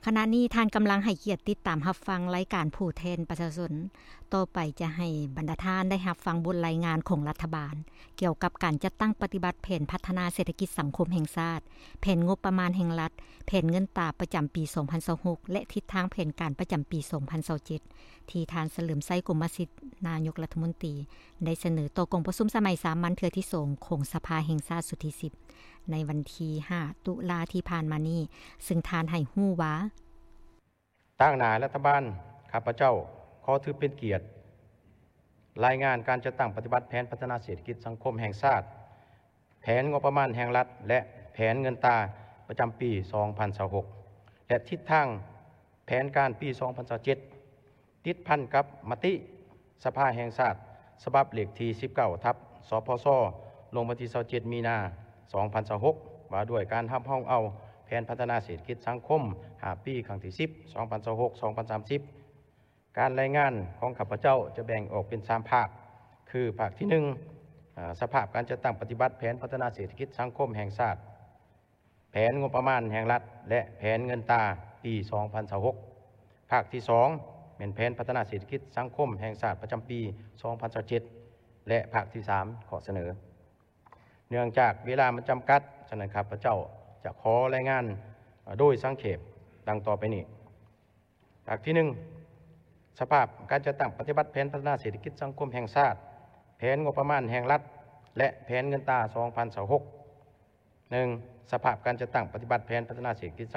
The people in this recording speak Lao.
ຂະນະນີ້ທ່ານກຳລັງໃຫ້ກຽດຕິດຕາມຮັບຟັງລາຍການຜູ້ແທນປະຊາຊົນ. ຕໍ່ໄປຈະໃຫ້ບັນດາທ່ານໄດ້ຮັບຟັງບົດລາຍງານຂອງລັດຖະບານ ກ່ຽວກັບການຈັດຕັ້ງປະຕິບັດແຜນພັດທະນາເສດຖະກິດສັງຄົມແຫ່ງຊາດ, ແຜນງົບປະມານແຫ່ງລັດ, ແຜນເງິນຕາປະຈຳປີສອງພັນຊາວຫົກ ແລະ ທິດທາງແຜນການປະຈຳປີສອງພັນຊາວເຈັດ ທີ່ທ່ານສະເຫຼີມໄຊ ກົມມະສິດ ນາຍົກລັດຖະມົນຕີ ໄດ້ສະເໜີຕໍ່ກອງປະຊຸມສະໄໝສາມັນເທື່ອທີສອງຂອງສະພາແຫ່ງຊາດຊຸດທີສິບ ໃນວັນທີຫ້າ ຕຸລາທີ່ຜ່ານມານີ້, ເຊິ່ງທ່ານໃຫ້ຮູ້ວ່າ ຕາງໜ້າລັດຖະບານ, ຂ້າພະເຈົ້າຂໍຖືເປັນກຽດລາຍງານການຈັດຕັ້ງປະຕິບັດແຜນພັດທະນາເສດຖະກິດສັງຄົມແຫ່ງຊາດ, ແຜນງົບປະມານແຫ່ງລັດ ແລະ ແຜນເງິນຕາປະຈຳປີສອງພັນຊາວຫົກ ແລະ ທິດທາງແຜນການປີສອງພັນຊາວເຈັດ ຕິດພັນກັບມະຕິສະພາແຫ່ງຊາດ ສະບັບເລກທີສິບເກົ້າ ທັບ ສພຊ ລົງວັນທີຊາວເຈັດ ມີນາ ສອງພັນຊາວຫົກ ວ່າດ້ວຍການຮັບຮອງເອົາແຜນພັດທະນາເສດຖະກິດສັງຄົມຫ້າປີ ຄັ້ງທີສິບ ສອງພັນຊາວຫົກ ສອງພັນສາມສິບ. ການລາຍງານຂອງຂ້າພະເຈົ້າຈະແບ່ງອອກເປັນສາມພາກ ຄື ພາກທີໜຶ່ງ ອາ ສະພາບການຈັດຕັ້ງປະຕິບັດແຜນພັດທະນາເສດຖະກິດສັງຄົມແຫ່ງຊາດ, ແຜນງົບປະມານແຫ່ງລັດ ແລະ ແຜນເງິນຕາປີສອງພັນຊາວຫົກ. ພາກທີສອງ ແມ່ນແຜນພັດທະນາເສດຖະກິດສັງຄົມແຫ່ງຊາດປະຈຳປີສອງພັນຊາວເຈັດ ແລະ ພາກທີສາມ ຂໍ້ສະເໜີ. ເນື່ອງຈາກເວລາມັນຈຳກັດ, ສະນັ້ນ ຂ້າພະເຈົ້າຈະຂໍລາຍງານໂດຍສັງເຂບດັ່ງຕໍ່ໄປນີ້. ພາກທີໜຶ່ງ ສະພາບການຈັດຕັ້ງປະຕິບັດແຜນພັດທະນາເສດຖະກິດສັງຄົມແຫ່ງຊາດ, ແຜນງົບປະມານແຫ່ງລັດ ແລະ ແຜນເງິນຕາສອງພັນຊາວຫົກ. ໜຶ່ງ ສະພາບການຈັດຕັ້ງປະຕິບັດແຜນພັດທະນາເສດຖະກິດສັງ